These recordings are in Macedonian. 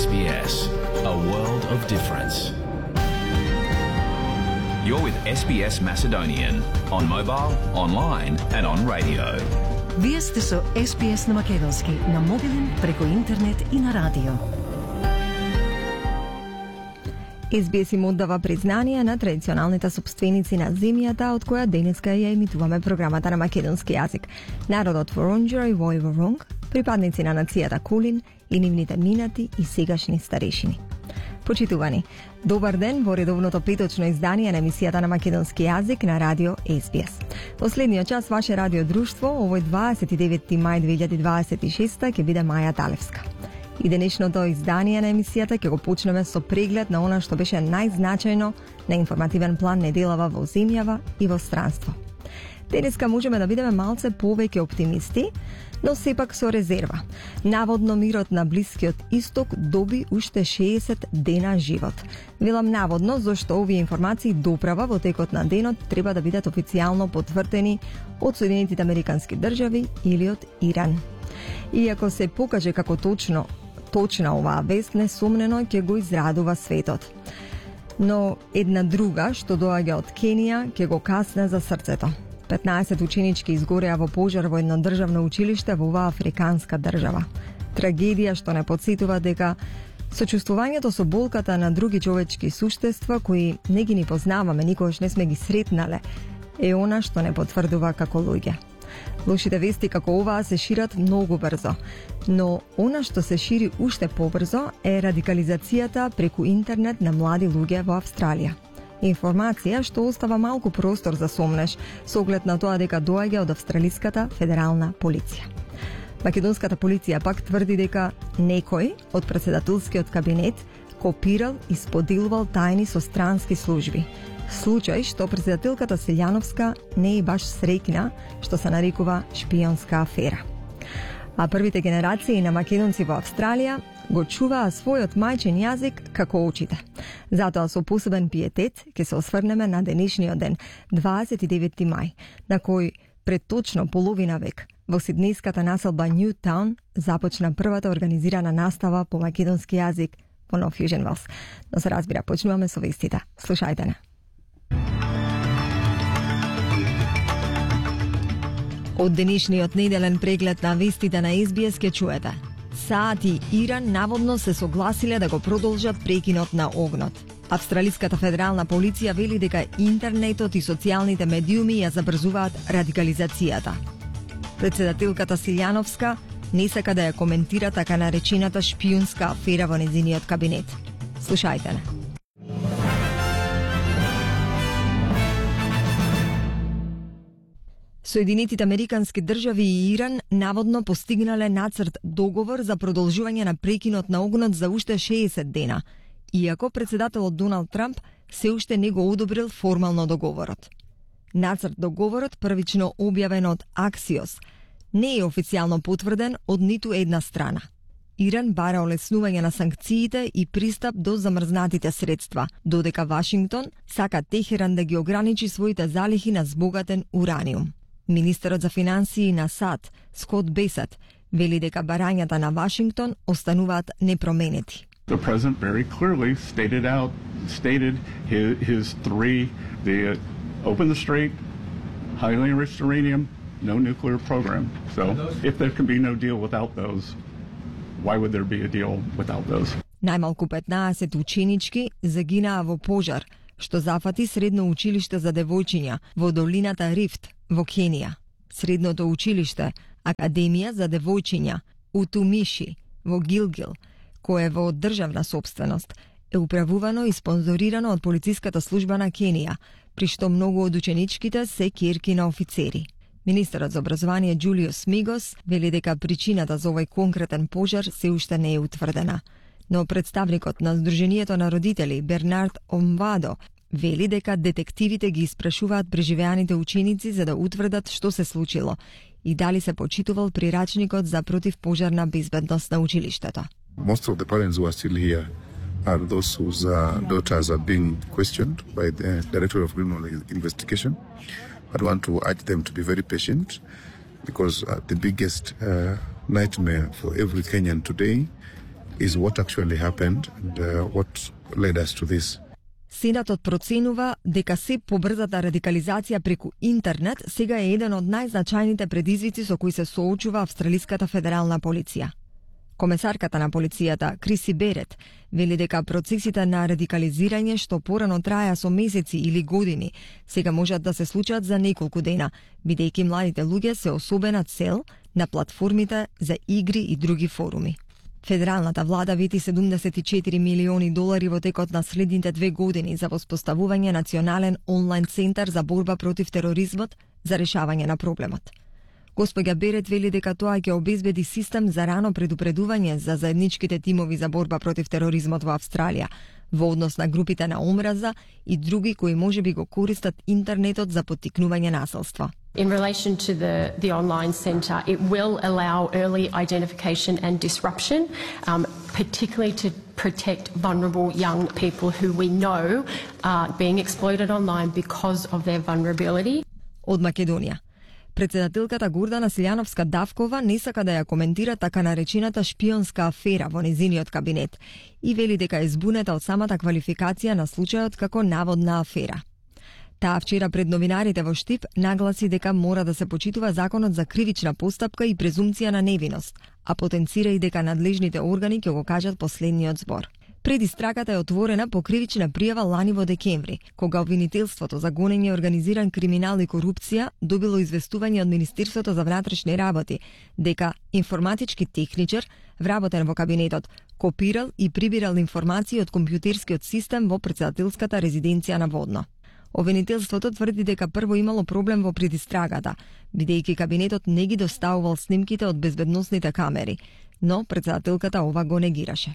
SBS, a world of difference. You're with SBS Macedonian on mobile, online and on radio. Вие сте со SBS на македонски, на мобилен, преку интернет и на радио. SBS им оддава признание на традиционалните собственици на земјата, од која денеска ја емитуваме програмата на македонски јазик. Народот Воронџер и Војворонг, припадници на нацијата Кулин и нивните минати и сегашни старешини. Почитувани, добар ден во редовното петочно издание на емисијата на македонски јазик на радио SBS. Последниот час ваше радио друштво, овој 29 мај 2026 ќе биде Маја Талевска. И денешното издание на емисијата ќе го почнеме со преглед на она што беше најзначајно на информативен план неделава во земјава и во странство. Денеска можеме да бидеме малце повеќе оптимисти, но сепак со резерва. Наводно мирот на Блискиот Исток доби уште 60 дена живот. Велам наводно, зашто овие информации доправа во текот на денот треба да бидат официјално потврдени од Соединетите Американски држави или од Иран. Иако се покаже како точна оваа вест, несомнено ќе го израдува светот. Но една друга, што доаѓа од Кенија, ќе го касне за срцето. 15 ученички изгореа во пожар во едно државно училиште во оваа африканска држава. Трагедија што не потсетува дека сочувствувањето со болката на други човечки суштества кои не ги ни познаваме, никогаш не сме ги сретнале, е она што не потврдува како луѓе. Лошите вести како оваа се шират многу брзо, но она што се шири уште побрзо е радикализацијата преку интернет на млади луѓе во Австралија. Информација што остава малку простор за сомнеш, со оглед на тоа дека доаѓа од Австралиската федерална полиција. Македонската полиција пак тврди дека некој од претседателскиот кабинет копирал и споделувал тајни со странски служби. Случај што претседателката Силјановска не е баш среќна, што се нарекува шпионска афера. А првите генерации на македонци во Австралија го чуваа својот мајчин јазик како очите. Затоа со посебен пиетет ќе се осврнеме на денешниот ден, 29 мај, на кој пред точно половина век во сиднејската населба Ньютаун започна првата организирана настава по македонски јазик во Нов Южен Велс. Но се разбира, почнуваме со вестите. Слушајте не. Од денешниот неделен преглед на вестите на SBS ќе чуете. САД и Иран наводно се согласиле да го продолжат прекинот на огнот. Австралиската федерална полиција вели дека интернетот и социјалните медиуми ја забрзуваат радикализацијата. Претседателката Силјановска не сака да ја коментира така наречената шпионска афера во нејзиниот кабинет. Слушајте не. Соединетите Американски држави и Иран наводно постигнале нацрт договор за продолжување на прекинот на огнот за уште 60 дена, иако претседателот Доналд Трамп се уште не го одобрил формално договорот. Нацрт договорот, првично објавен од Axios, не е официјално потврден од ниту една страна. Иран бара олеснување на санкциите и пристап до замрзнатите средства, додека Вашингтон сака Техеран да ги ограничи своите залихи на збогатен ураниум. Министерот за финансии на САД, Скот Бесет, вели дека барањата на Вашингтон остануваат непроменети. The president very clearly stated his three: open the strait, highly enriched uranium, no nuclear program. So if there can be no deal without those, why would there be a deal without those? Најмалку 15 ученички загинаа во пожар што зафати средно училиште за девојчиња во долината Рифт во Кенија. Средното училиште Академија за девојчиња Утумиши во Гилгил, кое е во државна сопственост, е управувано и спонзорирано од полициската служба на Кенија, при што многу од ученичките се ќерки на офицери. Министерот за образование Џулиус Мигос вели дека причината за овој конкретен пожар се уште не е утврдена. Но представникот на Сдруженијето на родители Бернард Омвадо вели дека детективите ги испрашуваат преживеаните ученици за да утврдат што се случило и дали се почитувал прирачникот за противпожарна безбедност на училиштето. Most of the parents who are still here are those whose daughters are being questioned by the Director of Criminal Investigation. I want to urge them to be very patient because the biggest nightmare for every Kenyan today is what actually happened and what led us to this. Сенатот проценува дека се побрзата радикализација преку интернет сега е еден од најзначајните предизвици со кои се соочува австралиската федерална полиција. Комесарката на полицијата, Криси Берет, вели дека процесите на радикализирање што порано траја со месеци или години, сега можат да се случат за неколку дена, бидејќи младите луѓе се особена цел на платформите за игри и други форуми. Федералната влада вети $74 милиони во текот на следните 2 години за воспоставување национален онлайн центар за борба против тероризмот за решавање на проблемот. Госпоѓа Берет вели дека тоа ќе обезбеди систем за рано предупредување за заедничките тимови за борба против тероризмот во Австралија, во однос на групите на омраза и други кои можеби го користат интернетот за поттикнување насилство. In relation to the online centre, it will allow early identification and disruption, particularly to protect vulnerable young people who we know are being exploited online because of their vulnerability. Од Македонија. Председателката Гордана Силјановска-Давкова не сака да ја коментира така наречената шпионска афера во незиниот кабинет и вели дека е збунета од самата квалификација на случајот како наводна афера. Таа вчера пред новинарите во Штип нагласи дека мора да се почитува законот за кривична постапка и презумпција на невиност, а потенцира и дека надлежните органи ќе го кажат последниот збор. Предистрагата е отворена по кривична пријава лани во декември, кога обвинителството за гонење организиран криминал и корупција добило известување од Министерството за внатрешни работи дека информатички техничар, вработен во кабинетот, копирал и прибирал информации од компјутерскиот систем во председателската резиденција на Водно. Обвинителството тврди дека прво имало проблем во предистрагата, бидејќи кабинетот не ги доставувал снимките од безбедносните камери, но председателката ова го негираше.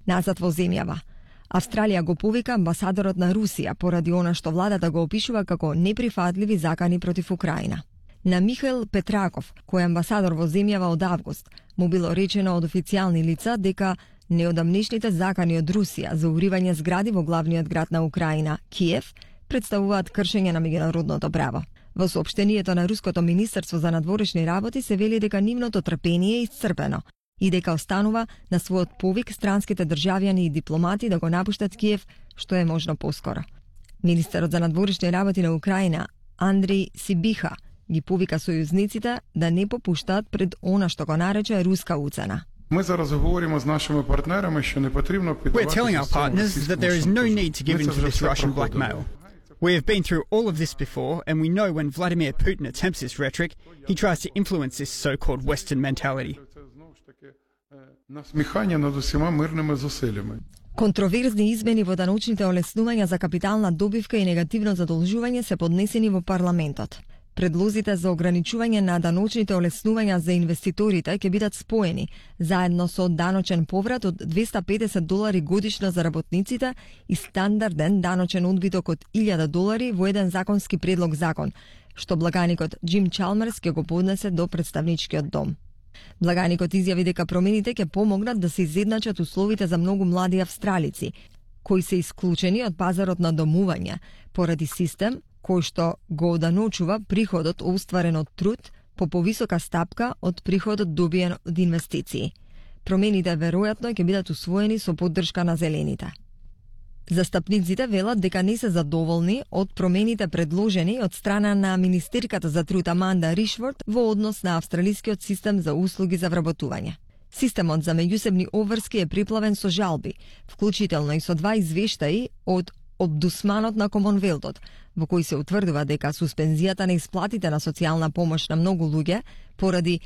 Назад во земјава. Австралија го повика амбасадорот на Русија поради она што владата го опишува како неприфатливи закани против Украина. На Михаил Петраков, кој е амбасадор во земјава од август, му било речено од официјални лица дека неодамнешните закани од Русија за уривање згради во главниот град на Украина, Киев, представуваат кршење на меѓународното право. Во соопштението на Руското министерство за надворешни работи се вели дека нивното трпение е исцрпено и дека останува на својот повик странските државјани и дипломати да го напуштат Киев што е можно поскоро. Министерот за надворешни работи на Украина, Андрей Сибиха, ги повика сојузниците да не попуштаат пред она што го нарече руска уцена. Ми зараз говоримо з нашими партнерами, що не потрібно піддаватися. We're telling our partners that there is no need to give in to this Russian blackmail. We have been through all of this before, and we know when Vladimir Putin attempts this rhetoric, he tries to influence this so-called Western mentality. Насміхання над усіма мирними зусиллями. Контроверзни измени во даночните олеснувања за капитална добивка и негативно задолжување се поднесени во парламентот. Предлозите за ограничување на даночните олеснувања за инвеститорите ќе бидат споени, заедно со даночен поврат од $250 годишно за работниците и стандарден даночен одбиток од $1000 во еден законски предлог закон, што благаникот Джим Чалмерс ќе го поднесе до представничкиот дом. Благаникот изјави дека промените ќе помогнат да се изедначат условите за многу млади австралици, кои се исклучени од пазарот на домување, поради систем кој што го оданочува приходот остварен од труд по повисока стапка од приходот добиен од инвестиции. Промените веројатно ќе бидат усвоени со поддршка на зелените. Застапниците велат дека не се задоволни од промените предложени од страна на министерката за труд Аманда Ришворд во однос на австралискиот систем за услуги за вработување. Системот за меѓусебни обврски е приплавен со жалби, вклучително и со 2 извештаи од Обдусманот на Комонвелтот, во кој се утврдува дека суспензијата на исплатите на социјална помош на многу луѓе поради